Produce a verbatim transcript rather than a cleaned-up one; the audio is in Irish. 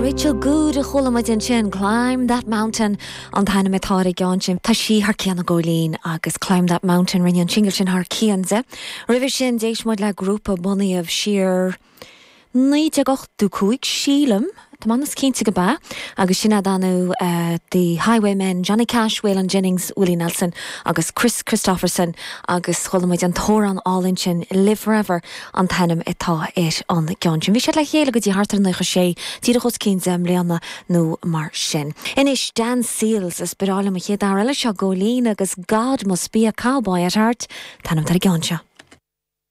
Rachel Goode a chuala muid ansin Climb that mountain an t-ainm atá ar an gceann sin Tá sí thar cionn a Góilín agus Climb that mountain rinne an single sin thar cionn di. Roimhe sin d'éist muid le grúpa bunaithe siar naoi déag ochtó cúig sílim Tá man cinnte go ba agus sin danu uh, the Highwaymen Johnny Cash, Waylon Jennings, Willie Nelson agus Kris Kristofferson agus chuala muid an t-amhrán álainn sin Live Forever an t-ainm atá ar an gceann sin. Bhí siad le chéile go dtí thart ar nócha sé díreach os cionn deich mbliana nó mar sin. Anois Dan Seals is breá liom an chéad fhear eile seo Góilín agus God must be a cowboy at heart, t-ainm ar an gceann seo.